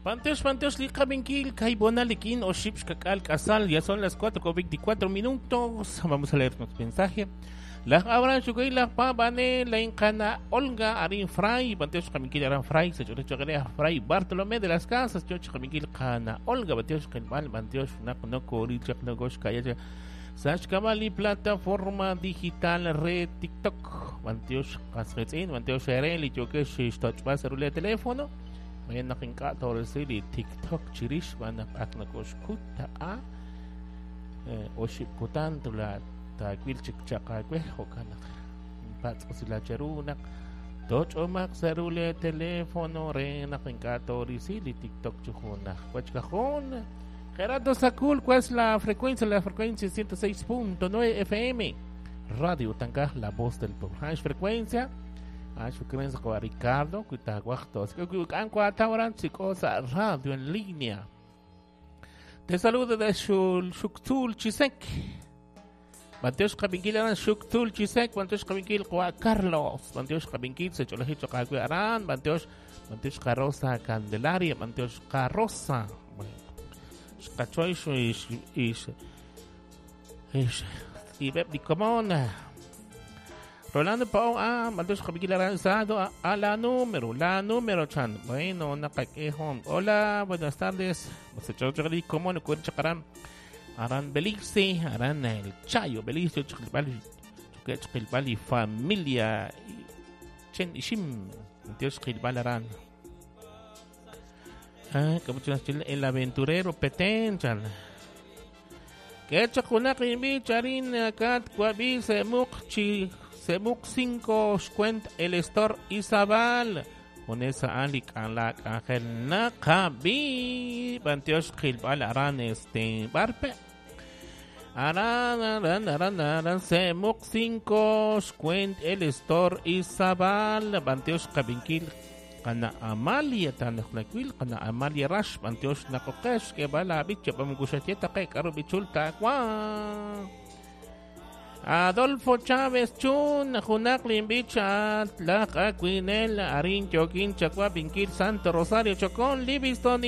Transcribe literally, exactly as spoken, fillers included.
Panteox, Panteox, Liqabinkil, Kaibonalikin, Oship, Kakal, Casal, ya son las cuatro con veinticuatro minutos. Vamos a leer nuestro mensaje. La Abraham Shugay, la Pabane, la Incana, Olga, Arin Fray, Panteox Kaminkil, Aran Fray, Sechorecho Fray, Bartolomé de las Casas, Choch Kaminkil, Cana, Olga, Panteox Kelmal, Panteox, Naknoko, Richak, Nogosh, Kaya, Sashkamali, plataforma digital, red TikTok, Panteox, Kasretzin, Panteox Ereli, Yokesh, Tochba, celular, teléfono. Mayan naking ka torosili TikTok chirish banak ak nakoshkuta a oship kutan tula takwil chikchakakwe hokanak patsosila cherunak toch omak cerule teléfono re naking ka torisili TikTok chujunak wachkajón Gerardo Sakul, ¿cuál es la frecuencia? La frecuencia ciento seis punto nueve F M Radio Tancaj, la voz del pueblo. Hash frecuencia. Con Ricardo, radio en línea. Te saludo de Shuktul Chisek. Mateus Kabinkil Aran Shuktul Chisek, Mateus Kabinkil Juan Carlos, Mateus Kabinkil Secholajicho Kakwe Aran, Mateus Mateus Carroza Candelaria, Mateus Carroza. Bueno, Cachoy y y Beb Rolando Pao, ah, Mateus Kabinkil Aranzado, a, a la número, la número, chan. Bueno, nakakehon. Hola, buenas tardes. Aran Belice, Aran el Chayo, Belice, Chakilbali, familia, Chen Ishim, Mateus Kilbal Aran. Ah, como el aventurero Petén, chan. Que chakunak imbi charin kat kwabi semuk chi Semuk cinco Shkwent el Store Izabal. Con esa alik alak ángel nakabi. Panteosh Kilbal Aran este barpe. Aran aran aran aran Semuk cinco Shkwent el Store Izabal. Panteosh Kabinkil Kana Amalia Tanaknakwil Kana Amalia Rash. Panteosh Nakokesh Kebala Bicha Pamgushatieta Kek Arubichulta Kwa. Adolfo Chávez Chun, Junak Limbicha, Tlaq Aquinel, Arin Choquín, Chacua, Pinkil, Santo Rosario, Chocón, Livingston,